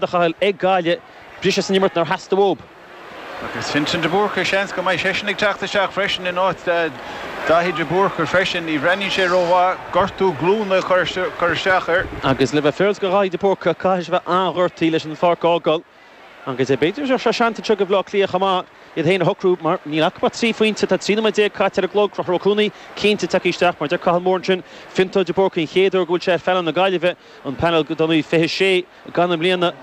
A Chathail ag Gaillimh, briseadh san imirt nár theastaigh uathu. Agus Fintan de Búrca, seans go mbeidh seisean ag teacht isteach freisin in áit Daithí de Búrca freisin. Ní bhreathnaíonn sé rómhaith, gortú glúine a chur isteach air. Agus le bheith féaráilte do Dhaithí de Búrca, caithfidh sé bheith an-ghortaithe leis an pháirc a fhágáil. Agus b'fhéidir go mbeadh sé seans anseo do Bhaile Átha Cliath chomh maith iad féin a shocrú mar níl acu ach 3 phointe. Tá 13 nóiméad caite ar an gclog. Conchúr Ó Cuanaigh cinnte tagtha isteach mar deir Cathal Moore ansin, Fionntán de Búrca an chéad uair go bhfuil sé ar phainéal na Gaillimhe, an painéal dar ndóigh 26 gan i mbliana.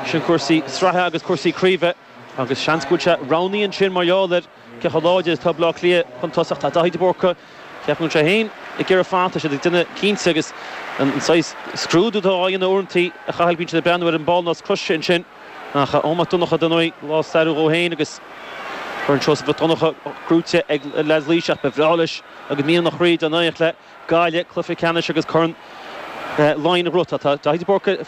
Sin cúrsaí sraithe agus cúrsaí craoibhe agus seans go bhfuil sé roghnaithe ansin mar gheall ar cé chomh láidir is atá Baile Átha Cliath chun tosach. Tá Daithí de Búrca, ceapaim go bhfuil sé féin ag iarraidh fanacht, tá siad ag déanamh cinnte agus an saghas scrúdú atá á dhéanamh uaireanta a Chathail, bíonn siad ag breathnú ar an bpoll nós croise ansin. Ach Eoin Mac Donncha dar ndóigh, lá stairiúil dhó féin agus Corn Seosamh Mhic Donncha gnóite ag leaids Laoise ach ba bhreá leis agus mian a chroí dá n-éireodh le Gaillimh, cluiche ceannais agus Corn Laighean a ghnóthachtáil. Tá Daithí de Búrca ag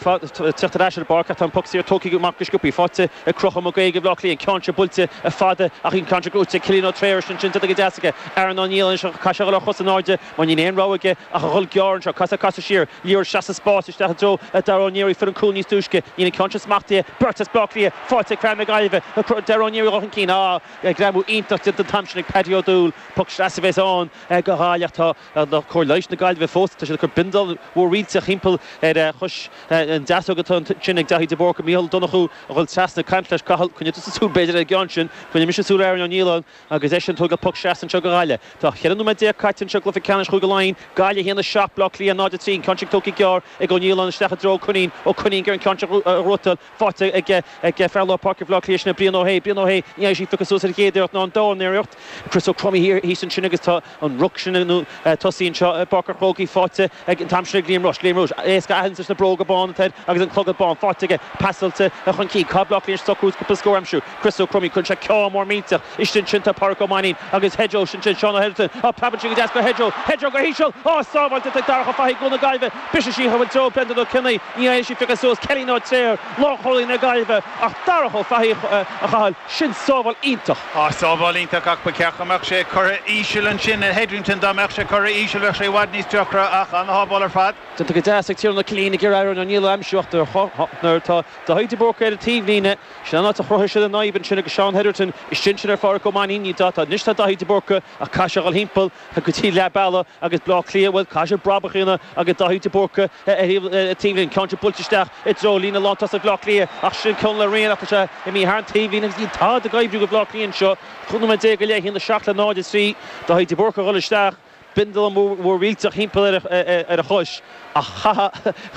teacht ar ais ar an bpáirc ach tá an poc saor tógtha amach go sciobtha. Faighte ag Conchúr Mac Aoidh ag Bleá Cliath. An ceann seo buailte fada ach an ceann seo gnóite ag Cillian Ó Treoir ansin déanta go deas aige. Aaron Ó Nialláin anois ach caithfidh sé a dhul ar chos in airde mar níl aon rogha aige ach a dhul gearr anseo. Caithfidh sé casadh siar. Liathróid isteach sa spás isteach i dtreo Dara Ó Niarraí. Fuair an cúl níos túisce. Níl an ceann seo smachtaithe. Beirt as Bleá Cliath faighte ag fear na Gaillimhe. Dara Ó Niarraí dul chun cinn. Ah, greamú iontach déanta an t-am sin ag Paddy Ó Dúill. Poc sleasa a bheas ann do Ghaillimh. Tá Cóir leighis na Gaillimhe fós, tá siad ag cur bindealán mhór mhillteach thimpeall ar chois an deasóg atá ansin ag Daithí de Búrca. Mícheál Ó Donnchú a dhul trasna ag caint leis Cathal, coinnigh tusa súil b'fhéidir ar an gceann sin, coinneoidh mise súil ar Aaron Ó Nialláin agus eisean ag tógáil poc sleasa anseo do Ghaillimh. Tá 14 nóiméad caite anseo i gcluiche ceannais Chúige Laighean, Gaillimh 1, 7, Bleá Cliath 0, 3, an ceann sin tógtha gearr ag Ó Nialláin isteach i dtreo Ó Coinín, Ó Coinín ag iarraidh an ceann seo a ghnóthachtáil. Faighte ag fear lár páirce Bhaile Átha Cliath, sin é Brian Ó hAodha. Brian Ó hAodha, ní fhaigheann sí piocadh suas ar an gcéad iarracht ná an dara iarracht. Chris Ó Cromaí thíos ansin agus tá an ruc sin nó tosaí anseo i bPáirc an Chrócaigh faighte ag an t-am sin ag Liam Rushe. Liam Rushe, éasca a aithint leis na bróga bána atá air agus an clogad bán faighte aige, pasáilte chun cinn. Caithfidh Bleá Cliath socrú cúpla scór a aimsiú. Chris Ó Cromaí, cuireann sé ceann mór millteach istigh ansin tá Pádraic Ó Mainnín agus Hedgerow ansin, Seán Ó hEirealtain. Á, preabann sé go deas go Hedgerow. Hedgerow go híseal! Á, sábháilte ag Darach Ó Fathaigh, Cuan na Gaillimhe. Briseann sí i dtreo Brendan Ó Cionnaith. Ní fhaigheann sí piocadh suas Ceilín Ó Treoir, lánchúlaí na Gaillimhe, ach Darach Ó Fathaigh a Chathail, sin sábháil iontach. Á, sábháil iontach ach ba cheart go mbeadh sé curtha íseal ansin ar Hetherington. Dá mbeadh sé curtha íseal bheadh sé i bhfad níos deacra ach ana-shábháil ar fad. Déanta go deas ag Ciarán Ó Cillín ag iarraidh Aaron O'Neill a aimsiú ach nuair atá Daithí de Búrca ar an taobhlíne, sin an áit a chruthaigh siad an fhadhb ansin agus Seán Hetherton istigh ansin ar Phádhraic Ó Mainnín. Ní tá, anois tá Daithí de Búrca ach caithfidh sé a dhul thimpeall. go dtí leath bealaigh agus Bleá Cliath, bhuel, caithfidh siad brabach a dhéanamh agus Daithí de Búrca ar thaobh an taobhlíne, ceann sin buailte isteach i dtreo líne lántosaigh Bhleá Cliath ach sin Conall Ó Riain ach tá sé imithe thar an taobhlíne agus níl tada ag oibriú do Bhleá Cliath anseo. 15 nóiméad go leith, 1, 7 le 0, 3, Daithí de Búrca a dhul isteach, bindealán mór millteach thimpeall ar a chois ach chaithfeá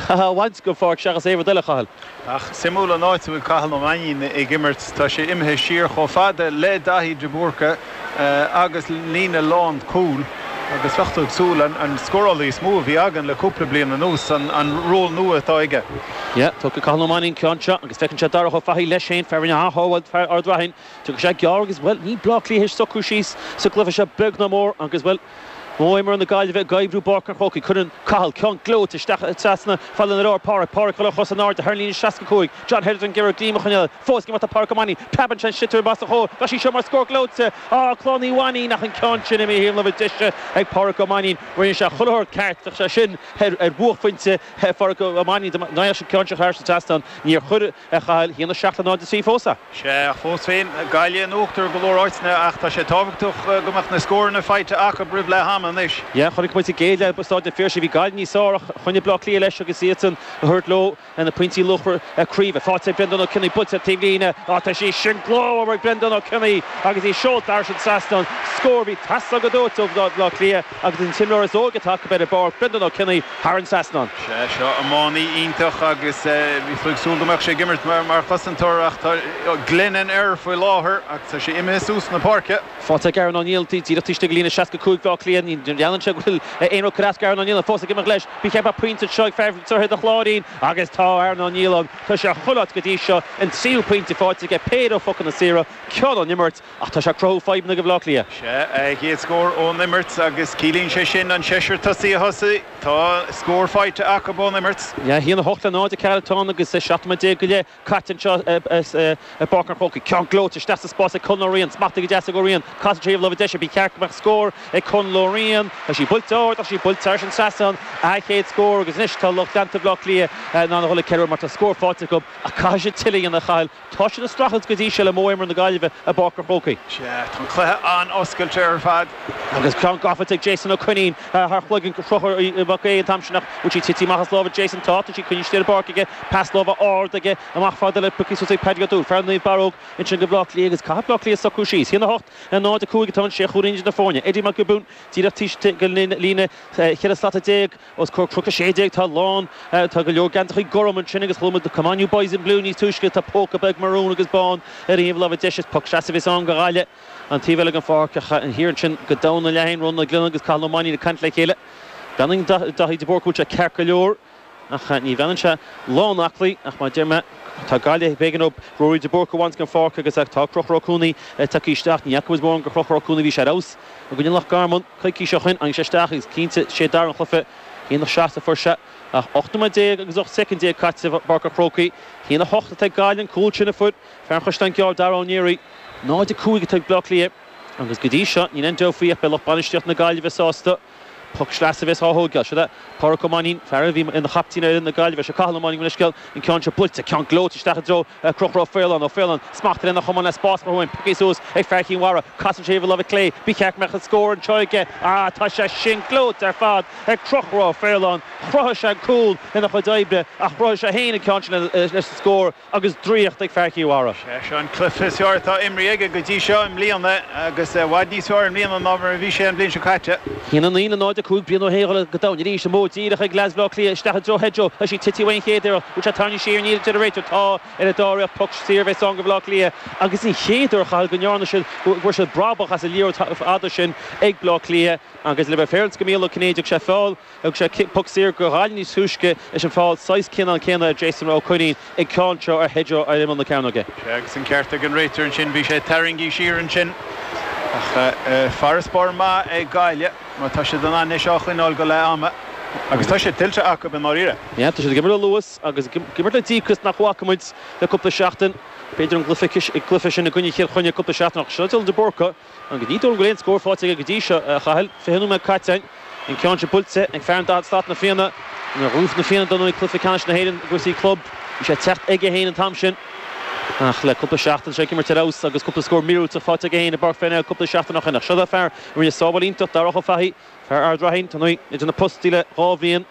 a bhaint den pháirc seachas aon rud eile, a Chathail. Ach suimiúil an áit a bhfuil Cathal Ó Mainnín ag imirt. Tá sé imithe siar chomh fada le Daithí de Búrca agus líne lán cúil agus bheadh tú ag súil an scórálaí is mó a bhí againn le cúpla bliain anuas, an ról nua atá aige. Yeah, tógfaidh Cathal Ó Mainnín an ceann seo agus feiceann sé Darach Ó Fathaigh leis féin, fear a rinne an-shábháil, fear Ard Raithin. Tiocfaidh sé gearr agus, bhuel, níl Bleá Cliath théis socrú síos sa gcluiche seo beag ná mór agus, bhuel, Modh imeartha na Gaillimhe ag oibriú i bPáirc an Chrócaigh. Cuireann Cathal ceann gleoite isteach trasna falla na lár. Pádraic, Pádraic ag dul ar chos in airde thar an líne 65. John Hetherton ag iarraidh greim a choinneáil. Fós ag imeacht tá Pádraic Ó Mainnín. Preabann sé an sliotar amach os a chomhair. Bheadh sí seo mar scór gleoite. Á, Clann Uí Mhainnín ach an ceann sin imithe taobh láimhe deise ag Pádraic Ó Mainnín. Rinne sé chuile shórt ceart. Bheadh sé sin ar bhuaicphointe Phádraic Ó Mainnín dá mbeadh an ceann seo thar an trasnán. Níor chuir a Chathail, 1, 7 le 0, 3 fós. Sea, ach fós féin, Gaillimh in uachtar i go leor áiteanna ach tá sé tábhachtach go mbeadh na scóranna faighte acu roimh leath ama anois. Yeah, chonaic muid sa gcéad leath i Staid an Phiarsaigh, bhí Gaillimh níos fearr ach choinnigh Bleá Cliath leis agus iadsan a thabhairt leo na pointí luachmhara craoibhe. Faighte ag Brendan Ó Cionnaith, buailte ar taobhlíne, á tá sí sin glórmhar ag Brendan Ó Cionnaith agus í seolta thar an trasnán. Scór a bhí ag teastáil go dóite ó Bhleá Cliath agus an t-imreoir is óige atá acu ar an bpáirc, Brendan Ó Cionnaith, thar an trasnán. Sea, seo iománaí iontach agus bhí tú ag súil go mbeadh sé ag imirt mar chosantóir ach tá Glennon air faoi láthair agus tá sé imithe suas na páirce. Faighte ag Aaron O'Neill díreach taobh istigh de líne 65 Bhaile Átha Cliath. Ní dhealraíonn sé go bhfuil aon rud ag cur as d'Aaron O'Neill fós ag imeacht leis. Ba cheart go mbeadh pointe anseo ag fear Droichead an Chláirín agus tá Aaron O'Neill ann. Tá sé chuile áit go dtí seo. An tríú pointe faighte aige, péire ó phocanna saora, ceann ón imirt. Ach tá sé ag cruthú fadhbanna do Bhaile Átha Cliath. Sea, a chéad scór ón imirt agus ciallaíonn sé sin an seisear tosaí a thosaigh. Tá scór faighte acu ón imirt. 1, 8 le 0, 4 atá ann agus 17 nóiméad go leith caite anseo i bPáirc an Chrócaigh. Ceann gleoite isteach sa spás ag Conal Ó Riain. Smachtaithe go deas ag Ó Riain. Casann sé taobh láimhe deise. Ba cheart go mbeadh scór ag Conal Ó Riain. Riain. Tá sí buailte ard ach tá sí buailte thar an trasnán. A chéad scór agus anois tá lucht leanta Bhaile Átha Cliath in ann a dhul ag ceiliúradh mar tá scór faighte acu ach caithfidh siad tuilleadh a dhéanamh a Chathail. Tá siad ag streachailt go dtí seo le modh imeartha na Gaillimhe i bPáirc an Chrócaigh. Sea, tá an cluiche an-oscailte ar fad. Agus ceann gafa ag Jason Ó Coinín thar chloigeann Chonchúir Mac Aodha an t-am sin ach bhfuil sí tite amach as lámha Jason? Tá, tá sí coinnithe ar an bpáirc aige. Pas láimhe ard aige amach fada le pioctha suas ag Paddy Ó Dúill, fear Naomh Barróg ansin do Bhaile Átha Cliath agus caithfidh Baile Átha Cliath socrú síos. 1-8, 0-5 atá an sé chúilín idir na foirne. Eddie Mac Giobúin díreach taobh istigh den líne 14 slata. Os comhair Cnoc 16 tá a lán, tá go leor geansachaí gorm ansin agus chuala muid Come on you boys in blue níos túisce, tá póca beag marún agus bán ar a thaobh láimhe deise is poc seasaimh a bheas ann do Ghaillimh an taobh eile den pháirc ach thiar ansin go domhan an leatháin, Rónán Ó Glionnáin agus Cathal Ó Mainnín ag caint le chéile. Breathnaíonn Daithí de Búrca go bhfuil sé ceart go leor ach ní bhreathnaíonn sé lán aclaí ach mar a deir mé tá Gaillimh, b'éigean dóibh Ruairí de Búrca a bhaint den pháirc agus tá Conchúr Ó Cúnaí tagtha isteach. Ní fhaca muid mórán de Chonchúr Ó Cúnaí, bhí sé ar fheabhas i gcoinne Loch Garman. Coicís ó shin, tháinig sé isteach agus cinnte, sé dara an chluiche, 1-7 a fuair sé ach 18 nóiméad agus 18 soicind caite i bPáirc an Chrócaigh. 1-8 atá ag Gaillimh, an cúl sin a fuair fear an Chaisleáin Ghearr, Dara Ó Néaraí. 0-5 atá ag Bleá Cliath agus go dtí seo níl aon dabht faoi ach beidh lucht bainistíochta na Gaillimhe sásta. Poc sleasa a bheas á thógáil. Seo é Pádraic Ó Mainnín, fear a bhí ina chaptaen ar fhoireann na Gaillimhe. Seo Cathal Ó Mainnín, gabh mo leithscéal, an ceann seo buailte, ceann gleoite isteach i dtreo Conchúr Ó Faoláin, Ó Faoláin, smacht lena chamán le spás amuigh uaim, pioctha suas ag fear Chinn Mhara, casann sé ar a láimh clé, ba cheart go mbeadh an scór anseo aige, ah tá sé sin gleoite ar fad ag Conchúr Ó Faoláin, chruthaigh sé an cúl lena chuid oibre ach chruthaigh sé féin an ceann sin leis an scór agus draíocht ag fear Chill Mhara. Sé seo an cluiche is fearr atá imrithe aige go dtí seo i mbliana agus i bhfad níos fearr i mbliana ná mar a bhí sé an bhliain seo caite. 1-9 le 0-5, Brian Ó hÉallaithe go domhain arís, an modh díreach ag leaids Bhaile Átha Cliath isteach i dtreo Shejo, tá sí tite uaidh an chéad iarracht, bhfuil sé tarraingthe siar, níl, deir an réiteoir, tá ar an dá iarracht, poc saor a bheas ann do Bhaile Átha Cliath agus an chéad uair, a Chathail, go ndearna siad, go bhfuair siad brabach as an liathróid fhada sin ag Baile Átha Cliath agus le bheith féaráilte do Mhícheál Ó Cinnéide, thug sé feall. Thug sé poc saor do Ghaillimh níos túisce leis an feall saghas cineál céanna ar Jason Ó Coinín an ceann seo ar Shejo ar imeall na cearnóige. Sea, agus an ceart ag an réiteoir ansin, bhí sé tarraingthe siar ansin. Ach farasbarr maith ag Gaillimh má tá siad in ann é seo a choinneáil go leath ama. Agus tá sé tuillte acu i ndáiríre. Yeah, tá siad ag imirt le luas agus ag imirt le díocas nach bhfaca muid le cúpla seachtain. B'fhéidir an cluiche sin i gcoinne Chill Chainnigh cúpla seachtain ach seo Dylan de Búrca. Agus ní dóigh liom go bhfuil aon scór faighte aige go dtí seo, a Chathail. 20 nóiméad caite againn. An ceann seo buailte ag fear an 40 slat, Na Fianna. Nuair a ghnóthaigh Na Fianna dar ndóigh cluiche ceannais na hÉireann i gcúrsaí club, bhí sé ag teacht aige féin an t-am sin. Ach le cúpla seachtain tá sé ag imirt ar fheabhas agus cúpla scór míorúilteach faighte aige féin i bPáirc Pharnell cúpla seachtain ó shin. Ach seo é fear a rinne sábháil iontach, Darach Ó Fathaigh, fear Ard Raithin, dar ndóigh, idir na postaí le dhá bhliain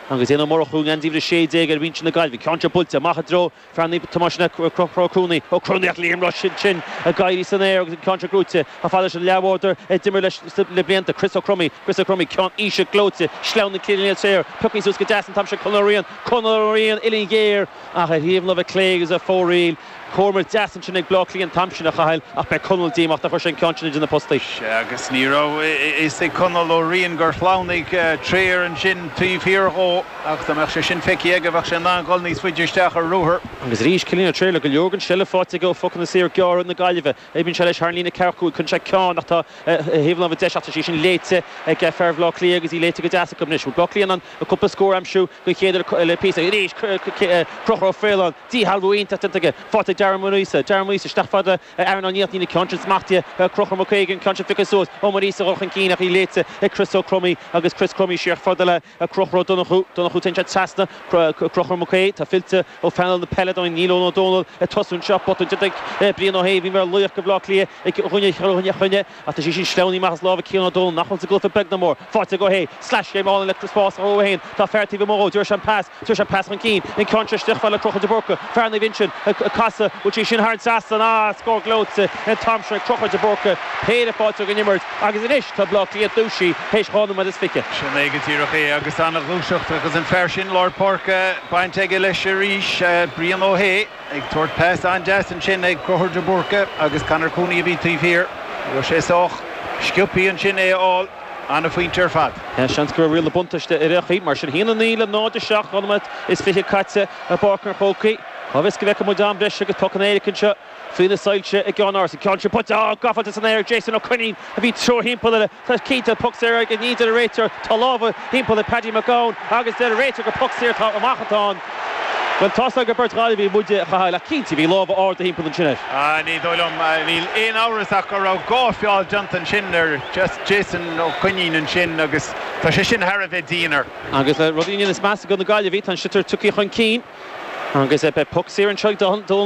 agus Éanna Ó Murchú i ngeansaí uimhir 16 ar bhinse na Gaillimhe. An ceann seo buailte amach i dtreo Fear Naomh Tomás sin é Conchúr Ó Cróinín, Ó Cróinín ach Liam Rushe ansin ag éirí san aer agus an ceann seo gnóite chomh fada leis an leathbhádóir a d'imir leis le blianta, Chris Ó Cromaí, Chris Ó Cromaí, ceann íseal gleoite, sleamhnaigh Cillian Ó Tréar, pioctha suas go deas an t-am sin Conor Ó Riain, Conor Ó Riain, uillinn ghéar ach ar thaobh na láimhe clé agus ar fóraoil. Comhimirt deas ansin ag Bleá Cliath an t-am sin a Chathail ach beidh Conall díomách nár chuir sé an ceann sin idir na postaí. Sea agus ní raibh a fhios ag Conall Ó Riain gur shleamhnaigh Tréar ansin taobh thiar dhó. Ach dá mbeadh sé sin feicthe aige, bheadh sé in ann dhul níos faide isteach ar ruathar. Agus arís, Cillian Ó Tréar le go leor den seilbh faighte aige ó phocanna saora gearra na Gaillimhe. Oibríonn sé leis thar an líne ceathracha 5, cuireann sé ceann ach tá thaobh láimhe deis ach tá sí sin léite ag fear Bhaile Átha Cliath agus í léite go deas acu anois. Bhfuil Bleá Cliath in ann cúpla scór a aimsiú den chéad uair le píosa? Arís, Conchúr Ó Faoláin, díshealbhú iontach déanta aige. Faighte ag Darren Muiríosa. Darren Muiríosa isteach fada le Aaron Ó Niach. Níl an ceann sin smachtaithe ag Conchúr Mac Aoidh, an ceann sin pioctha suas. Ó Muiríosa a dhul chun cinn ach í léite ag Chris Ó Cromaí agus Chris Crummey siar fada le Conchúr Ó Donnchú, Donnchú téann sé trasna, Conchúr Mac Aoidh, tá fillte ó phainéal na peile dúinn, Níl Eoin Ó Dónaill ag tosú anseo, botún déanta ag Brian Ó hAodha, bhí mar laoch do Bhaile Átha Cliath i gcoinne Chill Chainnigh ach tá sí sin sleamhnaithe amach as lámha Cian Ó Dónaill nach bhfuil sa gcluiche beag ná mór. Faighte ag Ó hAodha, sleaschéim álainn le spás a chruthú féin, tá fear taobh amuigh dhó, tabharfaidh sé an pas, tabharfaidh sé an pas chun cinn, an ceann seo isteach fad le Conchúr de Búrca, fear Naomh Uinseann ag casadh, bhfuil sí sin thar an trasnán, ah, scór gleoite an t-am sin ag Conchúr de Búrca, péire faighte ag an imirt agus anois tá Baile Átha Cliath dúisithe théis 2 nóiméad is 20. Sin é go díreach é agus an-ghluaiseacht agus an fear sin lár páirce baint aige leis arís, Brian Ó hAodha ag tabhairt pas an-deas ansin ag Conchúr de Búrca agus Conor Cooney a bhí taobh thiar. Bhí sé sách sciobtha ansin é a fháil. An-phointe ar fad. Seans go raibh riail na buntáiste ar aon chaoi. Mar sin, 1-9 le 0-7, 2 nóiméad is 20 caite i bPáirc an Chrócaigh. Cá bhfios go bhfeicfidh muid am breise agus pocanna éirice anseo faoi na soilse i gCeann Áras. An ceann sin buailte, á, gafáilte san aer ag Jason Ó Coinín a bhí treo thimpeall air. Tá cinnte poc saor aige, ní deir an réiteoir. Tá lámha thimpeall ag Paddy McGowan agus deir an réiteoir gur poc saor atá amach atá ann. Bhuel, tá's agam gur beirt Ghaillimhigh muide, a Chathail, ach cinnte, bhí lámha arda thimpeall ansin air. Ah, ní dóigh liom. Níl aon amhras ach go raibh dhá feall déanta ansin ar Jason Ó Coinín ansin agus tá sé sin thar a bheith dian air. Agus le rudaí ag déanamh measa do na Gaillimhigh, tá an sliotar tugtha chun cinn agus beidh poc saor anseo ag Dónal.